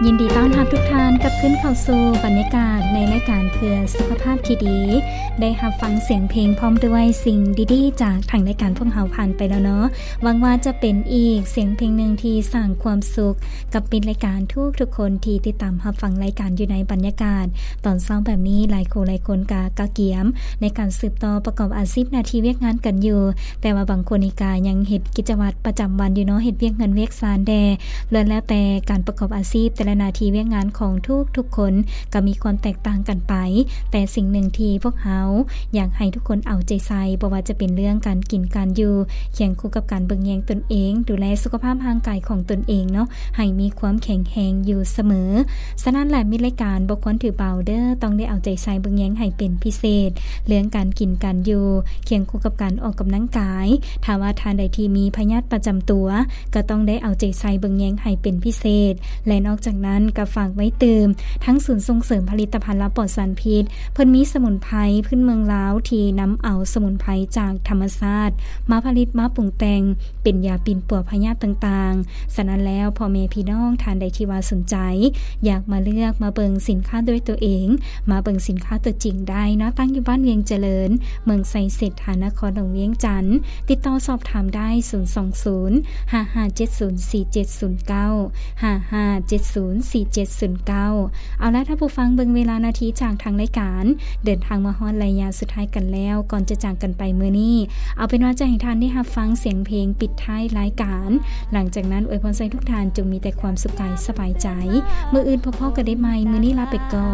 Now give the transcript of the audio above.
ຍິນດີຕ້ອນຮັບທຸກທ່ານກັບຄືນເຂົ້າສູ່ບັນຍາກາດໃນລາຍການເພື່ອສຸຂະພາບທີ່ດີ. ໄດ້ຮັບຟັງສຽງເພງພ້ອມດ້ວຍສິ່ງດີໆຈາກທາງລາຍການພວກເຮົາຜ່ານໄປແລ້ວເນາະ. ຫວັງວ່າຈະເປັນອີກສຽງເພງໜຶ່ງທີ່ສ້າງຄວາມສຸກກັບມິດລາຍການທຸກໆຄົນທີ່ຕິດຕາມຮັບຟັງລາຍການຢູ່ໃນບັນຍາກາດຕອນເຊົ້າແບບນີ້. ຫຼາຍຄູ່ຫຼາຍຄົນກະກະກຽມໃນການສືບຕໍ່ປະກອບອາຊີບໜ້າທີ່ວຽກງານກັນຢູ່, ແຕ່ວ່າບາງຄົນນີ້ກະຍັງເຮັດກິດຈະວັດປະຈຳວັນຢູ່ເນາະ, ເຮັດວຽກເຮືອນວຽກຊານແດ່. ລ້ວນແລ້ວແຕ່ການປະກອບອາຊີບ, ແຕ່ລະໜ້າທີ່ວຽກງານຂອງທຸກໆຄົນກໍມີຄວາມແຕກຕ່າງກັນໄປ, ແຕ່ສິ່ງໜຶ່ງທີ່ພວກເຮົາຢາກໃຫ້ທຸກຄົນເອົາໃຈໃສ່, ບໍ່ວ່າຈະເປັນເລື່ອງການກິນການຢູ່, ຄຽງຄູ່ກັບການເບິ່ງແຍງຕົນເອງ, ດູແລສຸຂະພາບຮ່າງກາຍຂອງຕົນເອງເນາະ, ໃຫ້ມີຄວາມແຂງແຮງຢູ່ສະເໝີ. ສະນັ້ນແຫຼະ ມິດລາຍການບໍ່ຄວນຖືເບົາເດີ້, ຕ້ອງໄດ້ເອົາໃຈໃສ່ເບິ່ງແຍງໃຫ້ເປັນພິເສດ, ເລື່ອງການກິນການຢູ່, ຄຽງຄູ່ກັບການອອກກຳລັງກາຍ. ຖ້າວ່າທ່ານໃດທີ່ມີພະຍາດປະຈຳຕົວ ກໍຕ້ອງໄດ້ເອົາໃຈໃສ່ເບິ່ງແຍງໃຫ້ເປັນພິເສດ ແລະ ນອກຈາກນັ້ນກໍຝາກໄວ້ຕື່ມ ທັງສູນສົ່ງເສີມຜະລິດຕະພັນລາວປອດສານພິດ, ເພິ່ນມີສະໝຸນໄພພື້ນເມືອງລາວທີ່ນຳເອົາສະໝຸນໄພຈາກທຳມະຊາດມາຜະລິດມາປຸງແຕ່ງເປັນຢາປິ່ນປົວພະຍາດຕ່າງໆ. ສະນັ້ນແລ້ວ ພໍ່ແມ່ພີ່ນ້ອງທ່ານໃດທີ່ວ່າສົນໃຈ ຢາກມາເລືອກມາເບິ່ງສິນຄ້າດ້ວຍຕົວເອງ, ມາເບິ່ງສິນຄ້າຕົວຈິງໄດ້ເນາະ, ຕັ້ງຢູ່ບ້ານວຽງຈະເລີນ, ເມືອງໄຊເສດຖາ, ນະຄອນຫຼວງວຽງຈັນ. ຕິດຕໍ່ສອບຖາມໄດ້ ສູນສອງສູນ ຫ້າຫ້າເຈັດສູນ ສີ່ເຈັດສູນເກົ້າ ຫ້າຫ້າເຈັດສູນ ສີ່ເຈັດສູນເກົ້າ. ເອົາລະ ທ່ານຜູ້ຟັງ, ເບິ່ງເວລານາທີຈາກທາງລາຍການ ເດີນທາງມາຮອດໄລຍະສຸດທ້າຍກັນແລ້ວ. ກ່ອນຈະຈາກກັນໄປມື້ນີ້, ເອົາເປັນວ່າຈະໃຫ້ທ່ານໄດ້ຮັບຟັງສຽງເພງປິດທ້າຍລາຍການ. ຫຼັງຈາກນັ້ນ ອວຍພອນໃຫ້ທຸກທ່ານຈົ່ງມີແຕ່ຄວາມສຸກກາຍສະບາຍໃຈ. ມື້ອື່ນພົບພໍ້ກັນໄດ້ໃໝ່. ມື້ນີ້ລາໄປກ່ອນ.